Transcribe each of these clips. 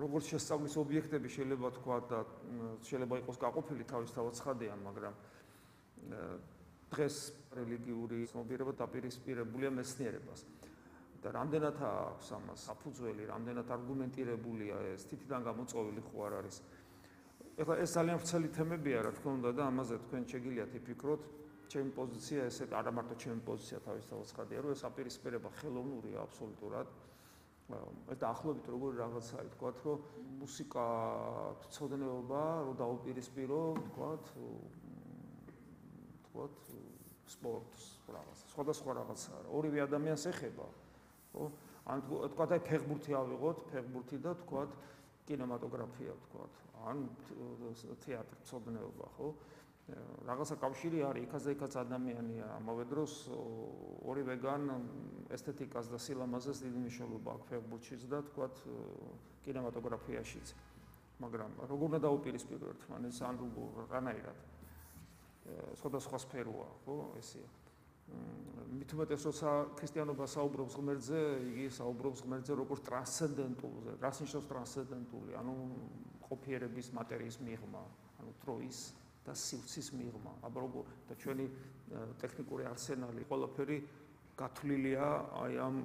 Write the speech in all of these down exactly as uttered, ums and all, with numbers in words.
როგორც შესწავლის ობიექტები შეიძლება თქვა და შეიძლება იყოს გაყოფილი თავისთავად ცხადიან, მაგრამ დღეს რელიგიური ცნობიერება დაპირისპირებულია მეცნიერებას. და რამდენად აქვს ამას საფუძველი, რამდენად არგუმენტირებულია ეს, თითიდან გამოწვეული ხო არ არის. ეხლა ეს ძალიან ვრცელი თემებია, რა თქმა უნდა და ამაზე თქვენ შეგიძლიათ იფიქროთ. ჩემი პოზიცია ესე არა მარტო ჩემი პოზიცია თავისთავად ცხადია, რომ ეს აპირისპირება ხელოვნურია აბსოლუტურად. ეს დაახლოებით როგორი რაღაცაა, თქვათ, რომ მუსიკა ცოდნეობა, რომ დაუპირისპირო, თქვათ, თქვათ, სპორტს რაღაცა, სხვადასხვა რაღაცაა. ორივე ადამიანს ეხება, ხო? ან თქვათ, აი ფეხბურთი ავიღოთ, ფეხბურთი და თქვათ, კინემატოგრაფია, თქვათ, ან თეატრი, ცოდნეობა, ხო? რაღაცა კავშირი არის, იქაც და იქაც ადამიანია, ამავე დროს ორივეგან ესთეტიკას და სილამაზეს დიდი მნიშვნელობა აქვს ფეხბურთშიც და თქვათ კინემატოგრაფიაშიც. მაგრამ როგორ უნდა დაუპირისპირო ერთმანეთს, ან რანაირად? სხვადასხვა სფეროა, ხო, ესეა. მით უმეტეს, როცა ქრისტიანობა საუბრობს ღმერთზე, იგი საუბრობს ღმერთზე როგორც ტრანსცენდენტულზე. რას ნიშნავს ტრანსცენდენტული? ანუ ყოფიერების მატერიის მიღმა, ანუ დროის და სივრცის მიღმა. აბა როგორ და ჩვენი ტექნიკური არსენალი ყველაფერი გათვლილია აი ამ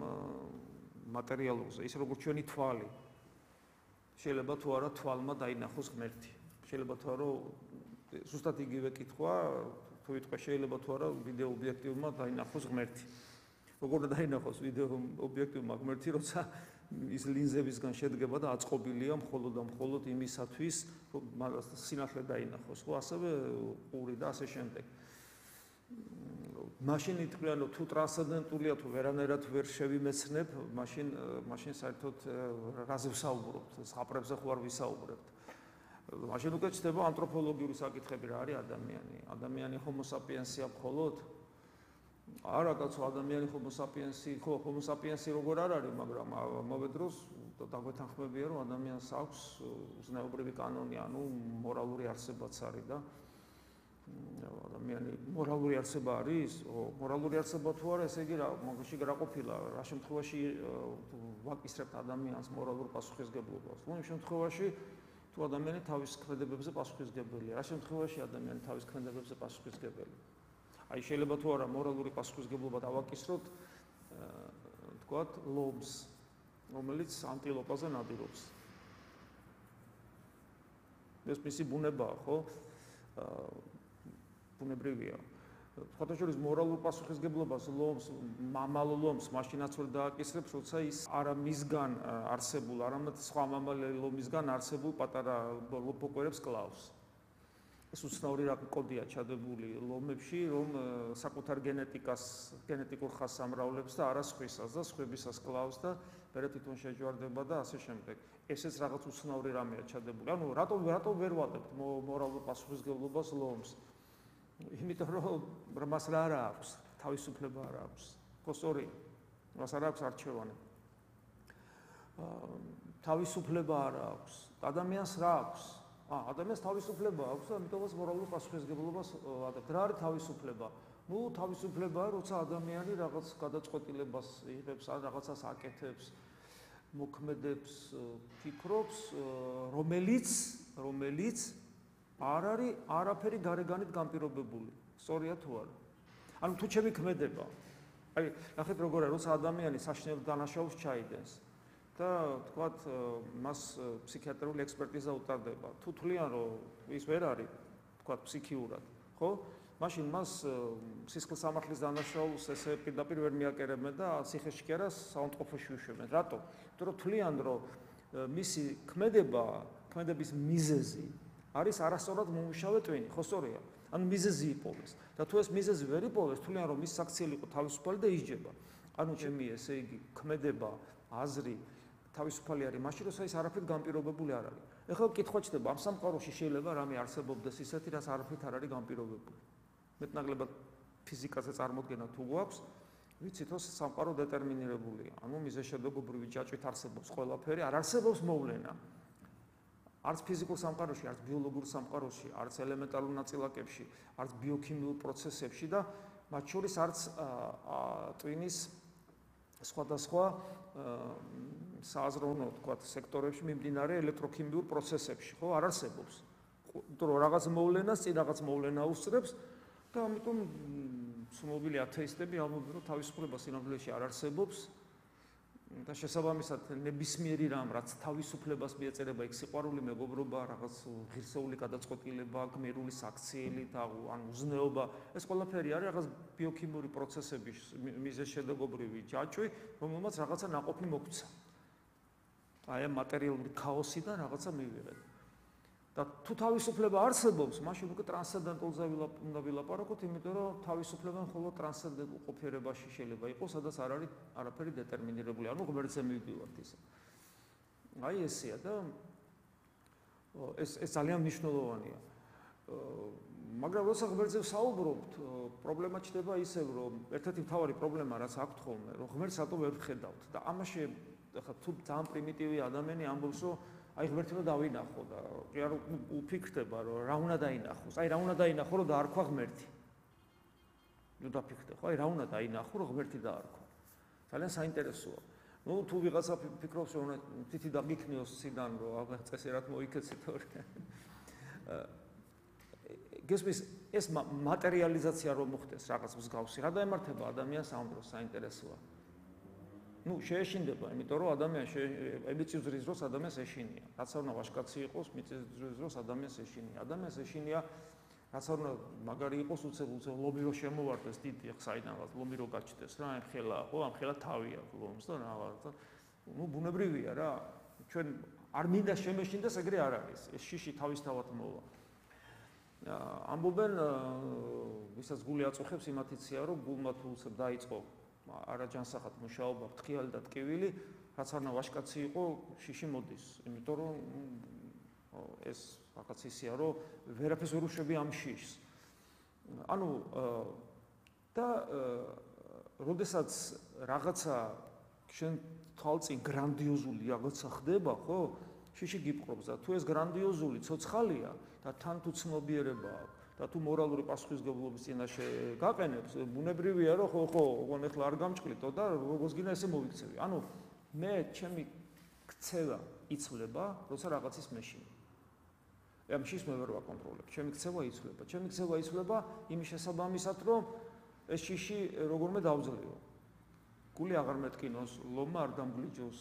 მატერიალურზე, ისე როგორც ჩვენი თვალი. შეიძლება თუ არა თვალმა დაინახოს ღმერთი. შეიძლება თუ არა ზუსტად იგივე კითხვა, თუ იტყვე შეიძლება თუ არა ვიდეო ობიექტივმა დაინახოს ღმერთი. როგორ დაინახოს ვიდეო ობიექტივმა ღმერთი, როცა ის ლინზებისგან შედგება და აწყობილია მხოლოდ და მხოლოდ იმისათვის, რომ სინათლე დაინახოს, ხო, ასევე ყური და ასე შემდეგ. მაშინ ითქვიან, რომ თუ ტრანსცენდენტულია, თუ ვერანაირად ვერ შევიმეცნებ, მაშინ მაშინ საერთოდ რაზე ვსაუბრობთ, ზღაპრებზე ხო არ ვისაუბრებთ. მაშინ უკვე ჩდება ანთროპოლოგიური საკითხები, რა არის ადამიანი? ადამიანი ჰომო საპიენსია მხოლოდ? არა, კაცო, ადამიანი ჰომო საპიენსი, ხო, ჰომო საპიენსი როგორ არ არის, მაგრამ ამავე დროს დაგვეთანხმებია, რომ ადამიანს აქვს ზნეობრივი კანონი, ანუ მორალური არსებაც არის და ადამიანი მორალური არსება არის? მორალური არსება თუ არა, ესე იგი რა, მაგაში რა ყოფილა, რა შემთხვევაში ვაკისრებთ ადამიანს მორალურ პასუხისგებლობას? ნუ იმ შემთხვევაში თუ ადამიანი თავის ქმედებებზე პასუხისგებელია, რა შემთხვევაში ადამიანი თავის ქმედებებზე პასუხისგებელია? აი შეიძლება თუ არა მორალური პასუხისგებლობა დავაკისროთ, თქვათ, ლომს, რომელიც ანტილოპაზე ნადირობს. ეს მისი ბუნებაა, ხო? ბუნებრივია. სხვათაშორის მორალურ პასუხისგებლობას ლომს, მამალ ლომს მაშინაც ვერ დააკისრებს, როცა ის არა მისგან არსებულ, არამედ სხვა მამალ ლომისგან არსებულ პატარა ლოპოკვერებს კლავს. ეს უცნაური კოდია ჩადებული ლომებში, რომ საკუთარ გენეტიკას, გენეტიკურ ხასამრავლებს და არა სხვისას და სხვებისას კლავს და მერე თვითონ შეჯვარდება და ასე შემდეგ. ესეც რაღაც უცნაური რამეა ჩადებული. ანუ რატომ რატომ ვერ ვადებთ მორალურ პასუხისგებლობას ლომს? იმიტომ რომ მას რა არა აქვს, თავისუფლება არა აქვს. ხო, სწორია. მას არ აქვს არჩევანი. თავისუფლება არა აქვს. ადამიანს რა აქვს? ა, ადამიანს თავისუფლება აქვს და ამიტომაც მორალურ პასუხისგებლობას ადებთ. რა არის თავისუფლება? ნუ თავისუფლებაა, როცა ადამიანი რაღაც გადაწყვეტილებას იღებს, ან რაღაცას აკეთებს, მოქმედებს, ფიქრობს, რომელიც, რომელიც არ არის არაფერი გარეგანით განპირობებული. სწორია თუ არა? ანუ თუ ჩემი ქმედება. აი, ნახეთ როგორ არის, როცა ადამიანი საშინელ დანაშაულს ჩაიდენს და თქვათ მას ფსიქიატრიული ექსპერტიზა უტარდება. თუ თვლიან, რომ ის ვერ არის, თქვათ ფსიქიურად, ხო? მაშინ მას სისხლის სამართლის დანაშაულს ესე პირდაპირ ვერ მიაკერებენ და ციხეში კი არა საავადმყოფოში უშვებენ. რატო? იმიტომ რომ თვლიან, რომ მისი ქმედება, ქმედების მიზეზი არის არასწორად მომუშავე ტვინი, ხო სწორია? ანუ მიზეზი იპოვეს. და თუ ეს მიზეზი ვერ იპოვეს, თვლიან, რომ მის საქციელი იყო თავისუფალი და ისჯება. ანუ ჩემი ესე იგი ქმედება, აზრი თავისუფალი არის მაშინ, როცა ის არაფრით განპირობებული არ არის. ეხლა კითხვა ჩდება, ამ სამყაროში შეიძლება რამე არსებობდეს ისეთი, რაც არაფრით არ არის განპირობებული. მეტნაკლებად ფიზიკაზე წარმოდგენა თუ გვაქვს, ვიცით, რომ სამყარო დეტერმინირებულია. ანუ მიზეშედეგობრივი ჯაჭვით არსებობს ყველაფერი, არ არსებობს მოვლენა. არც ფიზიკურ სამყაროში, არც ბიოლოგიურ სამყაროში, არც ელემენტარულ ნაწილაკებში, არც ბიოქიმიურ პროცესებში და მათ შორის არც ტვინის სხვადასხვა სააზროვნო თქვა სექტორებში მიმდინარე ელექტროქიმიურ პროცესებში, ხო, არ არსებობს. იმიტომ რომ რაღაც მოვლენას წინ რაღაც მოვლენა უსწრებს და ამიტომ ცნობილი ათეისტები ამბობენ, რომ თავისუფლება სინამდვილეში არ არსებობს და შესაბამისად ნებისმიერი რამ, რაც თავისუფლებას მიეწერება, იქ სიყვარული, მეგობრობა, რაღაც ღირსეული გადაწყვეტილება, გმირული საქციელი და ან უზნეობა, ეს ყველაფერი არის რაღაც ბიოქიმიური პროცესების მიზეზშედეგობრივი ჯაჭვი, რომელმაც რაღაცა ნაყოფი მოგვცა. აი ამ მატერიალური ქაოსიდან რაღაცა მივიღეთ. და თუ თავისუფლება არსებობს, მაშინ უკვე ტრანსცენდენტულზე უნდა ვილაპარაკოთ, იმიტომ რომ თავისუფლება მხოლოდ ტრანსცენდენტულ ყოფიერებაში შეიძლება იყოს, სადაც არ არის არაფერი დეტერმინირებული, ანუ ღმერთზე მივდივართ ისე. აი ესეა და ეს ეს ძალიან მნიშვნელოვანია. მაგრამ როცა ღმერთზე ვსაუბრობთ, პრობლემა ჩნდება ისევ, რომ ერთ-ერთი მთავარი პრობლემა, რაც აქვთ ხოლმე, რომ ღმერთს რატო ვერ ვხედავთ და ამაში ახლა თუ ძალიან პრიმიტივი ადამიანი ამბობს, რომ აი ღმერთი რომ დავინახო და კი არ უფიქრდება რომ რა უნდა დაინახოს. აი რა უნდა დაინახო რომ დაარქვა ღმერთი. ნუ დაფიქრდე ხო? აი რა უნდა დაინახო რომ ღმერთი დაარქვა. ძალიან საინტერესოა. ნუ თუ ვიღაცა ფიქრობს რომ თითი დაგიქნიოს ციდან რომ აღარ წესერად მოიქეცი თორე. გესმის ეს მატერიალიზაცია რომ მოხდეს რაღაც მსგავსი. რა დაემართება ადამიანს ამ დროს საინტერესოა. ნუ შეეშინდება, იმიტომ რომ ადამიანს მიწისძვრის დროს ადამიანს ეშინია. რაც არ უნდა ვაჟკაცი იყოს, მიწისძვრის დროს ადამიანს ეშინია. ადამიანს ეშინია, რაც არ უნდა მაგარი იყოს, უცებ უცებ ლომი რო შემოვარდეს დიდი ხსაიდანაც, ლომი რო გაჩნდეს რა, ამ ხელა, ხო, ამ ხელა თავი აქვს ლომს და რაღაც და ნუ ბუნებრივია რა. ჩვენ არ მინდა შემეშინდეს, ეგრე არ არის. ეს შიში თავისთავად მოვა. ამბობენ, ვისაც გული აწუხებს, იმათიცია, რომ გულმა თუ უცებ დაიწყო არაჯანსაღად მუშაობა, ფრთხილი და ტკივილი, რაც არ უნდა ვაჟკაცი იყო, შიში მოდის. იმიტომ რომ ეს რაღაც ისეა, რომ ვერაფერს ვერ უშვები ამ შიშს. ანუ და როდესაც რაღაცა შენ თვალწინ გრანდიოზული რაღაცა ხდება, ხო? შიში გიპყრობს და თუ ეს გრანდიოზული ცოცხალია და თან თუ ცნობიერება აქვს და თუ მორალური პასუხისმგებლობის წინაშე გაყენებს, ბუნებრივია რომ ხო ხო, ოღონ ეხლა არ გამჭყლიტო და როგორც გინდა ესე მოვიქცევი. ანუ მე ჩემი ქცევა იცვლება, როცა რაღაცის მეშინი. ამ შიშს მე ვერ ვაკონტროლებ. ჩემი ქცევა იცვლება. ჩემი ქცევა იცვლება იმის შესაბამისად, რომ ეს შიში როგორმე დავძლიო. გული აღარ მეტკინოს, ლომა არ დამგლიჯოს.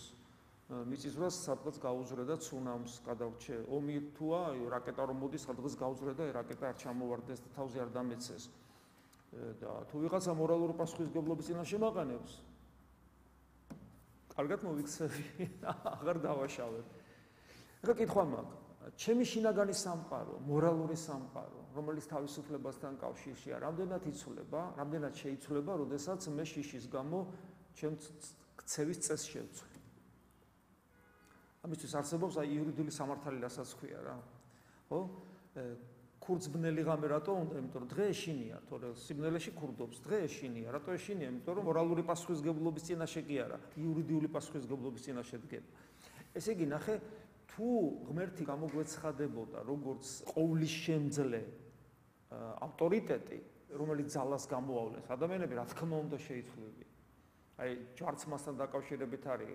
მიწისძვრას სადღაც გაუძვრე და ცუნამს გადავრჩე. ომი თუა, რაკეტა რომ მოდის, სადღაც გაუძვრე და რაკეტა არ ჩამოვარდეს და თავზე არ დამეცეს. და თუ ვიღაცა მორალური პასუხისმგებლობის წინაშე მაყენებს, კარგად მოვიქცევი, აღარ დავაშავებ. ეხლა კითხვა მაქვს, ჩემი შინაგანი სამყარო, მორალური სამყარო, რომელიც თავისუფლებასთან კავშირშია, რამდენად იცვლება, რამდენად შეიცვლება, როდესაც მე შიშის გამო ჩემ ქცევის წესს შევცვლი. ამისთვის არსებობს აი იურიდიული სამართალი, რასაც ქვია რა. ხო? ქურდსბნელი ღამე რატო უნდა? იმიტომ რომ დღე ეშინია, თორე სიბნელეში ქურდობს, დღე ეშინია. რატო ეშინია? იმიტომ რომ მორალური პასუხისმგებლობის წინაშე კი არა, იურიდიული პასუხისმგებლობის წინაშე დგება. ესე იგი, ნახე, თუ ღმერთი გამოგვეცხადებოდა როგორც ყოვლის შემძლე ავტორიტეტი, რომელიც ძალას გამოავლენს, ადამიანები რა თქმა უნდა შეიცვლებიან. აი ჯვარცმასთან დაკავშირებით არის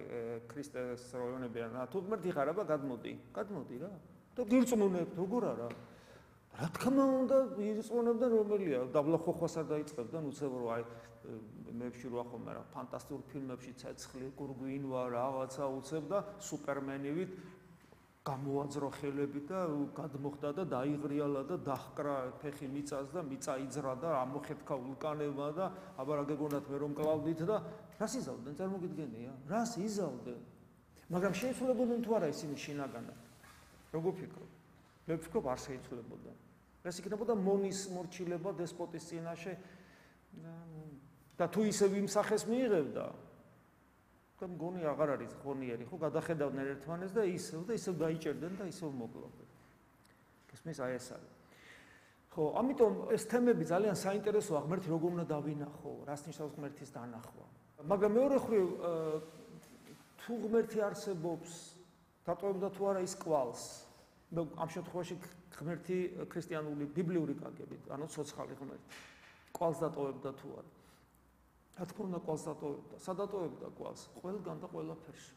ქრისტეს როიონებიან რა თუ ღმერთი ხარ აბა გადმოდი გადმოდი რა და გირწმუნებთ როგორ არა რა თქმა უნდა ირწმუნებდა რომელია დაბლახოხვას არ დაიწყებდა უცებ რომ აი მეებში რო ახომა რა ფანტასტიკურ ფილმებში ცეცხლი გურგვინვა რაღაცა უცებ და სუპერმენივით გამოაძრო ხელები და გადმოხდა და დაიღრიალა და დაჰკრა ფეხი მიწას და მიწა იძრა და ამოხეთქა ვულკანებმა და აბა რა გეგონათ მე რომ კლავდით და რას იზავდნენ წარმოგიდგენია რას იზავდნენ მაგრამ შეიცვლებოდნენ თუ არა ისინი შინაგანად როგორ ფიქრობ მე ვფიქრობ არ შეიცვლებოდნენ ეს იქნებოდა მონის მორჩილება დესპოტის წინაშე და თუ ისევ იმ სახეს მიიღებდა და მგონი აღარ არის ხონიერი, ხო, გადახედავდნენ ერთმანეს და ისევ და ისევ დაიჭერდნენ და ისევ მოკლავდნენ. გესმის აი ეს არის. ხო, ამიტომ ეს თემები ძალიან საინტერესოა, ღმერთი როგორ უნდა დავინახო, რას ნიშნავს ღმერთის დანახვა. მაგრამ მეორე მხრივ თუ ღმერთი არსებობს, დატოვებდა თუ არა ის კვალს. ამ შემთხვევაში ღმერთი ქრისტიანული ბიბლიური კაგებით, ანუ ცოცხალი ღმერთი. კვალს დატოვებდა თუ არა. რა თქმა უნდა კვალს დატოვებდა, სადატოვებდა კვალს? ყველგან და ყველაფერში.